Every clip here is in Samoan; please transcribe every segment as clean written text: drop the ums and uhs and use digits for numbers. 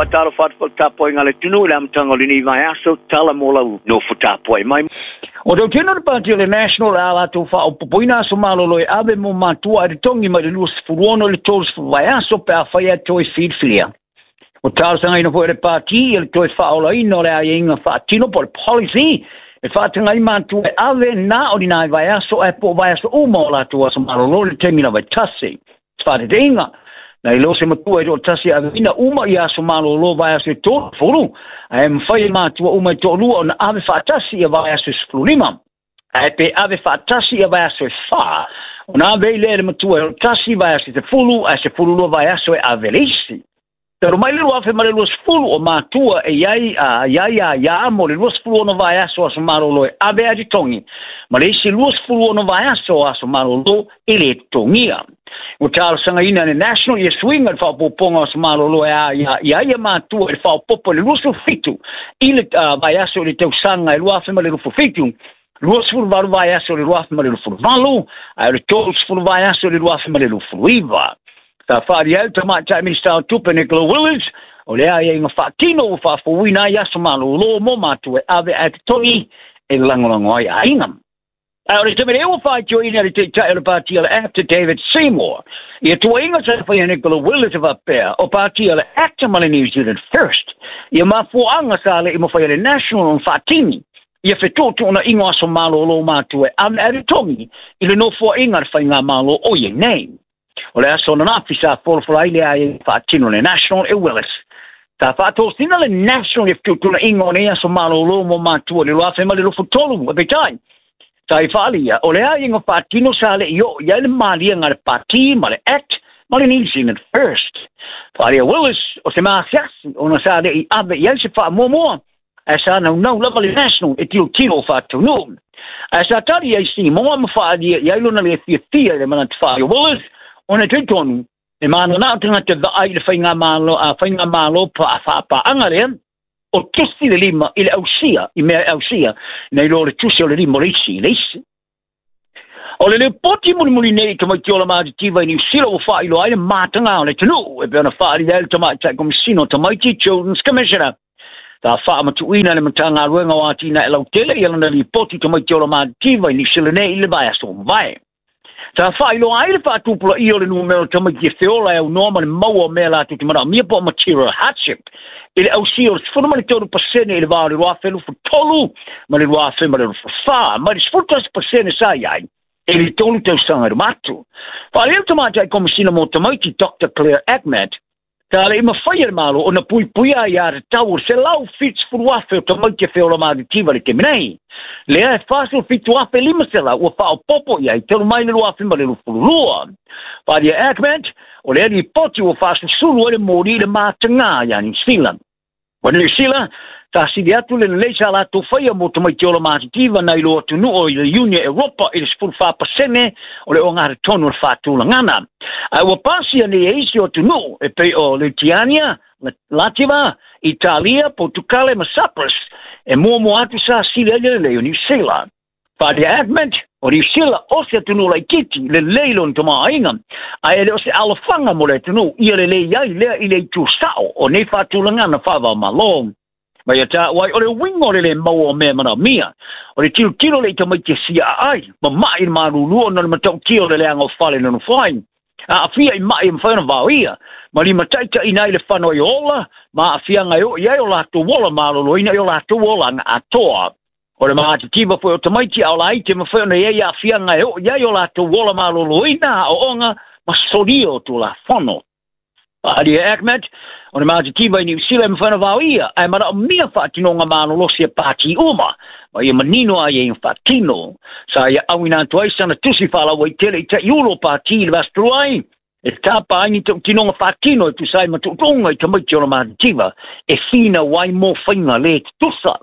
Faatalofa atu foi i le tapuaiga a le atunuu i le amataga o lenei vaiaso, tala mo lau nofo tapuai mai. O tautino le pati o le National le a latou faaopoopoina aso malolo e ave mo matua e totogi mai le 26 i le 30 vaiaso pe afai e toe filifilia. O talosagaina foi e le pati ia le toe faaolaina o le aiaiga faatino po o le policy e faataga ai matua e ave na o ni nai vaiaso ae po o vaiaso uma o latou aso malolo i le taimi lava e tasi. Faataitaiga, nai lo se matua e toatasi e aveina uma ia aso malolo vaiaso e 30, ae mafai e matua uma e toalua ona ave faatasi ia vaiaso e 15. Ae pe ave faatasi ia vaiaso e 4, ona ave ai lea e le matua e toatasi vaiaso e 10, ae 12 vaiaso e ave le isi. Talu mai le 2020 o matua e iai a ia mo le 26 vaiaso aso malolo e ave a totogi, ma le isi 26 vaiaso aso malolo e le totogia. Ua talosagaina le National ia suiga le faaopoopoga o aso malolo e a ia ia matua i le faaopoopo i le 27 i le vaiaso i le tausaga e 2027, 28 vaiaso i le 2028, ae o le 30 vaiaso i le 2029. Sa faaalia ai le tamaitai Minisita o Tupe Nicola Willis, o le aiaiga faatino ua faafouina ai aso malolo mo matua e ave ae totogi e lagolago ai aiga. Ae o le taimi nei ua faitioina le taitai o le pati o le ACT David Seymour ia tuuaiga sa faia Nicola Willis e faapea o pati o le ACT ma le New Zealand First ia mafuaaga sa le i mafai e le National ona faatini ia fetuutuunaiga o aso malolo matua e ave ae totogi i le nofoaiga a le faigamalo o iai nei. O le aso ananafi sa folafola ai le aiaiga faatino le National e Willis. Sa faatosina le National i fetuutuunaiga o nei aso malolo mo matua i le 2023, e peitai sa i faaalia o le aiaiga faatino sa le i oo i ai le maliega a le pati ma le ACT ma le New Zealand First. Faaalia Willis o se maasiasi ona sa le i ave i ai se faamuamua, ae sa naunau lava le National e tilotilo o faataunuu. Ae sa tali ai Seymour ma faaalia i ai lona le fiafia i le manatu faaalia Willis, ona e talitonu e mananao tagata vaai i le faigamalo faapaaga lea o tusi le lima i le ausia, i mea e ausia, nei lo le tusi o le lima o le isi i le isi. O le lipoti mulimuli nei i tamaiti ola matitiva i Niu Sila ua faailoa ai le mataga o le atunuu e pei ona faaalia ai le tamaitai komisina o tamaiti Children's Commissioner. Sa faamatuuina le Matagaluega o Atinae Lautele ia lana lipoti tamaiti ola matitiva i Niu Sila nei i le vaiaso ua mavae. Sa faailoa ai le faatupulaia o le numera o tamaiti e feola e aunoa ma le maua o mea latou te manaomia po o material hardship i le ausia o le 13% i le va o le 2023 ma le 2024, mai le 11% sa i ai i le 3 tausaga i luma atu. Faaalia le tamaitai komisina mo tamaiti Dr. Claire Achmad, sa le i mafai e le Malo ona puipuia ai atatau o le 170,000 o tamaiti e feola matitiva i le taimi nei. Lea e 47,500 ua faaopoopo i ai talu mai le 2022. Faaalia Achmad, o lea lipoti ua faasusulu ai le moli i le mataga ia Niu Sila. O Niu Sila, sa sili atu le lelei sa latou faia mo tamaiti ola matitiva nai lo atunuu i le Iunia Europa i le 14% o le ogatotonu o le faatulagana. Ae ua pasia nei e isi o atunuu e pei o Litiania, Lativa, Italia, Portucale ma Cyprus e muamua atu sa sili ai le lelei o Niu Sila. Faaalia Achmad, o Niu Sila o se atunuu laitiiti lelei lona tamaoaiga, ae e le o se alofaga mo le atunuu ia lelei ai lea i le itu sao o nei faatulagana faava-o-Malo. Mai ia taua ai o le uiga o le le maua o mea e manaomia, o le tilotilo le i tamaiti e siaa ai, mama'i i le malulu ona o le matautia o le leaga o fale nonofo ai. Aafia i ma'i e mafai ona vaoia, ma limataitaiina ai le fano ai o ola, ma aafiaga e oo i ai o latou ola maloloina i o latou olaga atoa. O le matitiva foi o tamaiti a o laiti e mafai ona i ai aafiaga e oo i ai o latou ola maloloina, aoaoga ma solia o Tulafono. Faaalia Achmad, o le matitiva i Niu Sila e mafai ona vaoia, ae manaomia faatinoga malolosi e pati uma, ma ia manino ai e faatino. Sa ia auina atu ai sana tusi faalauaitele i taiulu o pati i le vaiaso ai, e tapa ai ni tautinoga faatino e tusa ai ma tuutuuga i tamaiti o le matitiva, e finau ai mo faiga le tutusa.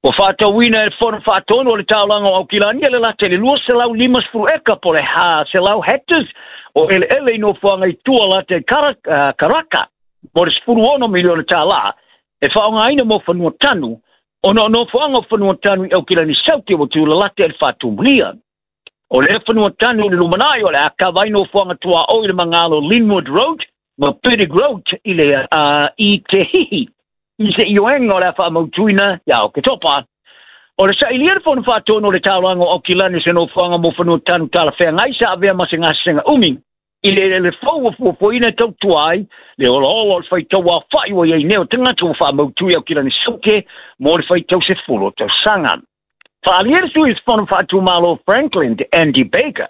Ua faatauina e le Fono Faatonu o le Taulaga o Aukilani le lata i le 250 eka po o le 400 hectares o eleele i nofoaga i tua lata i Karaka mo le $16 miliona tālā e faaaogaina mo fanua tanu ona o nofoaga o fanua tanu i Aukilani Sauti ua tulalata i le faatumulia. O lea fanua tanu i le lumanai o le a kava ai nofoaga tuaoi i le magalo Linwood Road Ma Peter Grote i le i te hihi i se ioega o le a faamautuina ia Oketopa. O le sailia le fono faatonu o le taulaga o Aukilani se nofoaga mo fanua tanu talafeagai sa avea ma se gasesega umi i le eleele fou ua fuafuaina e tautua ai le olaola o le faitau aofa'i ua iai nei o tagata ua faamautu i Aukilani Saute mo le faitau 10 tausaga. Faaalia le sui usufono faatumalo Franklin Andy Baker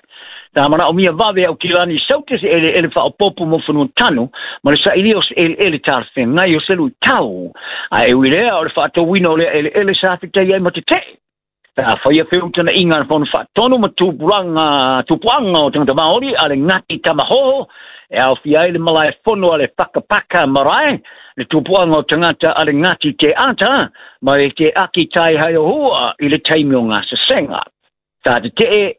sa manaomia vave Aukilani Saute se eleele faaopoopo mo fanua tanu ma le sailia o se eleele talafeagai o se luitau. Ae ui lea o le faatauina o lea eleele sa fetai ai ma tete'e. Sa faia feutana'iga a le fono faatonu ma tupulaga tupuaga o tagata Maori a le Ngati Tamahoho e aofia ai le malae fono a le Whakapaka Marae, le tupuaga o tagata a le Ngati Te Ata ma le Te Aki Tai Haiohua i le taimi o gasesega. Sa tete'e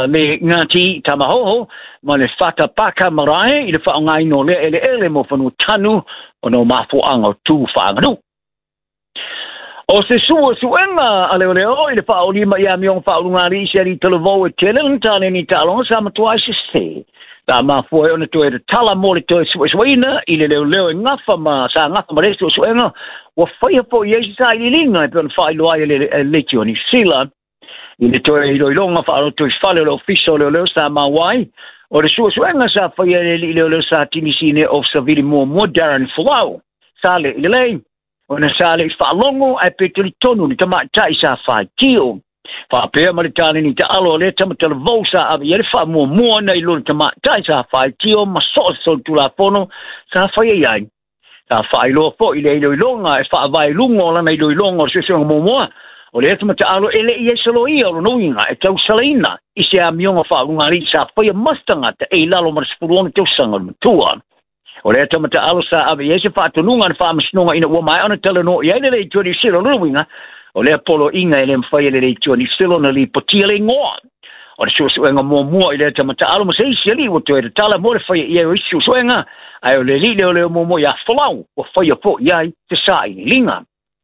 le Ngati Tamahoho ma le Whakapaka Marae i le faaaogaina o lea eleele mo fanua tanu ona o mafuaaga o tu faaaganuu. O se suesuega a leoleo i le faaolima i amioga faaulugalii se alii talavou e tele lana taleni taaloga sa matua ai sesē. Sa mafua ai ona toe tatala mo le toe suesueina i le leoleo e gafa ma sa gafa ma lea suesuega ua faia fo'i ai se sailiiliga e pei ona faailoa ai e le Leitio o Niusila. I le toe iloiloga faalotoifale o le ofisa o leoleo sa maua ai o le suesuega sa faia e le alii leoleo sa Tinisine o Savili muamua Darren Folau sa le'i lelei ona sa le'i faalogo ae pe talitonu le tamaʻitaʻi sa faitio. Faapea ma le taleni taalo o lea tamatalavou sa ave i ai le faamuamua na i lo le tamaʻitaʻi sa faitio ma soo se solitulafono sa faia i ai. Sa faailoa fo'i le iloiloga e faavae luga o lana iloiloga o le suesuega muamua o lea tamataalo e le'i ai saloia o lona uiga e tausalaina i se amioga faaulugalii sa faia ma se tagata e i lalo ma le 16 tausaga o le matua. O lea tamataalo sa ave i ai se faatonuga a le faamasinoga ina ua maea ona talanoa i ai le Leitio Niu Sila. O lona uiga o lea poloaiga e le mafai e le Leitio Niu Sila ona lipotia le igoa. O le suesuega muamua i lea tamataalo ma se isi alii ua toe tatala mo le faia i ai o isi suesuega, ae o le alii leoleo muamua ia Folau ua faia fo'i ai se sailiiliga.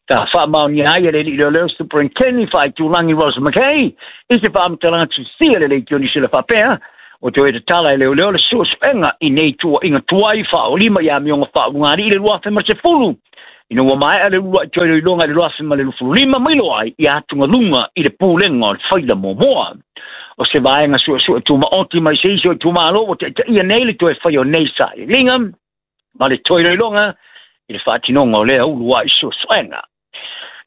Sa faamaonia ai e le alii leoleo Superintendent faaitulagi Rose McKay i se faamatalaga tusia le Leitio Niu Sila faapea o toe tatala e leoleo le suesuega i nei tuua'iga tuai faaolima i amioga faaulugalii i le 2010 ina ua maea le ulua'i toe iloiloga i le 2025 ma iloa ai i atugaluga i le pulega o le faila muamua. O se vaega suesue tumaoti mai se isi o itumalo ua taʻitaʻia nei le toe faia o nei sailiiliga ma le toe iloiloga i le faatinoga o lea ulua'i suesuega.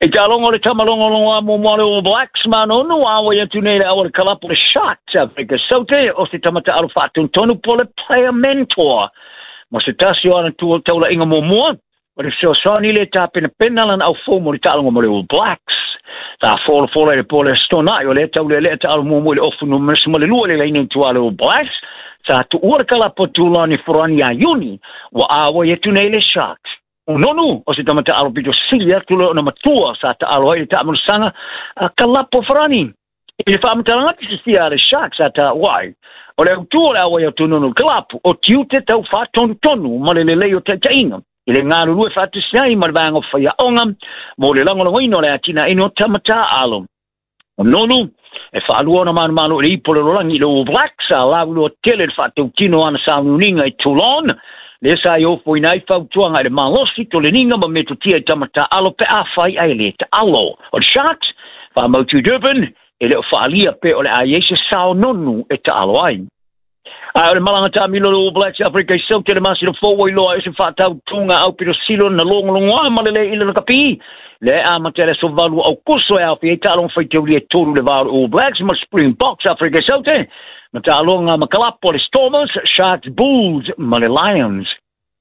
I taaloga o le tamalogologo a muamua le All Blacks ma nonu auai atu nei le au le kalapu le Sharks Afrika Saute o se tamataalo faatonutonu po le player mentor ma se tasi o ana taula'iga muamua o le fesoasoani le tapenapena lana aufou mo le taaloga mo le All Blacks. Sa folafola i le po le aso Tona'i o lea taulealea taalo muamua i le ofu numera 12 i le laina i tua le All Blacks sa tuua le kalapu a Tulani Forani ia Iuni ua auai atu nei le Sharks. O Nonu o se tamataalo pito sili atu le ona matua sa taalo ai le taamolosaga a kalapu Farani. I le faamatalaga atu sisia a le Sharks sa taua ai o le autū o le auai atu Nonu kalapu o tiute tau faatonutonu ma le lelei o taʻitaʻiga i le galulue faatasi ai ma le vaega o faiaoga mo le lagolagoina o le atinaeina o tamatā alo. O Nonu e faalua ona manumalo i le ipo le lolagi i le All Blacks a lauiloa tele le faatautino ana sauniuniga i Toulon lea sa i ofoina ai fautuaga i le malosi toleniga ma metotia i tamatā alo pe afai ae lē taalo. O le Sharks faamautu Durban e le o faalia pe o le a iai se sao Nonu e taalo ai. Ae o le malaga taamilo le All Blacks Afrika i Saute le masina fou ua iloa ai se faatautuga aupito silo na logologoa ma le lē i le lakapi le amata i le aso 8 Aukuso e aofia ai taaloga faitaulia e tolu le va o le All Blacks ma Springboks Afrika i Saute ma taaloga ma kalapo le Stormers, Sharks, Bulls ma le Lions.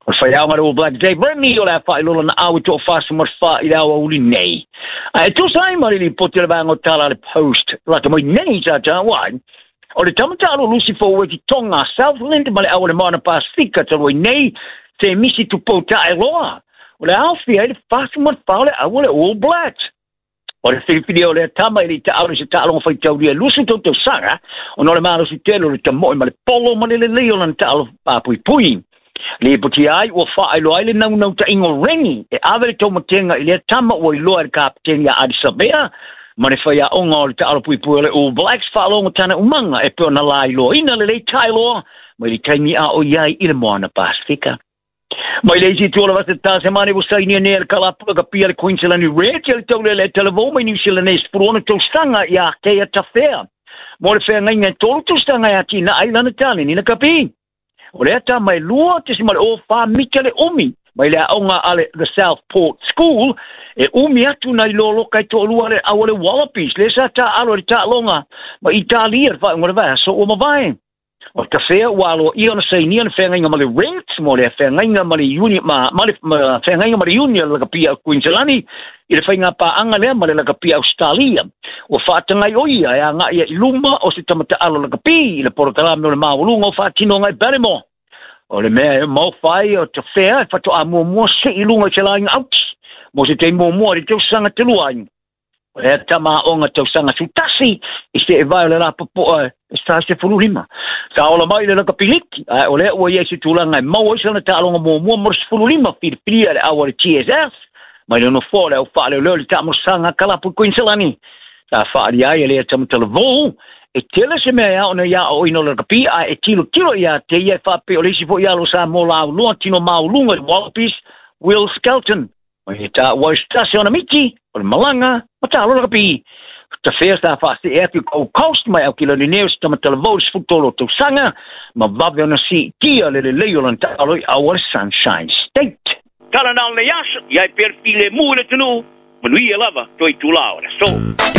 O le faiaoga le All Blacks Dave Rennie o le a faailoa lana au i 44 i le aoauli nei. Ae tusa ai ma le lipoti o le vaega o tala a le Post lata mai nei sa taua ai o le tamatalo Lusi Foueti Tonga Southland ma le au o le Moana Pasifika talu ai nei se misi tupou taeloa o le aofia ai le 44 o le au o le All Blacks. O le filifili o lea tama i le taalo se taaloga faitaulia 20 tausaga ona o le malosi tele o le tamoe ma le polo ma le lelei o lana taalo papuipui. Lipotia ai ua faailoa ai le naunautaiga o Rennie e ave le taumatega i lea tama ua iloa e le kapeteni ia Ardie Savea ma le faiaoga o le taalo puipui o le All Blacks faalogo tana umaga e pei ona lailoaina lelei taeloa Mai le taimi a o i ai i le Moana Pasifika. Mai le isi itu o le vasa Tasemane ua sainia nei e le kalapu lakapi a le Queensland Reds le taulele talavou mai New Zealand nei 16 tausaga ia Kea Tafea mo le feagaiga e 3 tausaga e atinae ai lana taleni lakapi. O lea tama e 2.04 mita le umi mai le aoga a le The Southport School e umi atu nai loloka e toalua le au a le Wallabies lea sa taaalo i le taaloga ma Italia i le faaiuga o le vaiaso ua mavae. O Tafea ua aloaia ona sainia le feagaiga ma le Reds mo le feagaiga ma le Uni ma, ma le ma, feagaiga ma le Union Lakapi a Queensland i le faiga paaga lea ma le Lakapi Australia. Ua faatagai o ia e agai i luma o se tama taalo lakapi i le polokalame o le maualuga o faatinoga i Baltimore. O le mea e maofa ai o Tafea e faatoa muamua sei i luga i se laina auti mo se taimi muamua i le tausaga talu ai. O lea tama aoga tausaga 11 i seevae o le lapopoa e sa 15. Sa ola mai le lakapiliki, ae o lea ua i ai se tulaga e maua ai sana taaloga muamua mo le 15 filifilia le au a le TSS mai le nofoa o le au faaleoleo i le taamolosaga a kalapu i Queensland. Sa faaalia ai e lea tama talavou e tele se mea e ao ona ia aoaoina o le lakapi ae e tilotilo ia te ia e faapea o le isi foi alo sa mo laulua tino maualuga i le Wallabies Will Skelton. Mai e taua ai se tasi ona miti, o le malaga, ma taalo lakapi. Tafea sa faasee atu i Gold Coast mai Aukilani nei o se tama talavou i le 13 o tausaga, ma vave ona siitia le lelei o lana taalo i au a le Sunshine State. Tala na o lenei aso, i ai pea le filemu i le atunuu, manuia lava toe itula o le aso.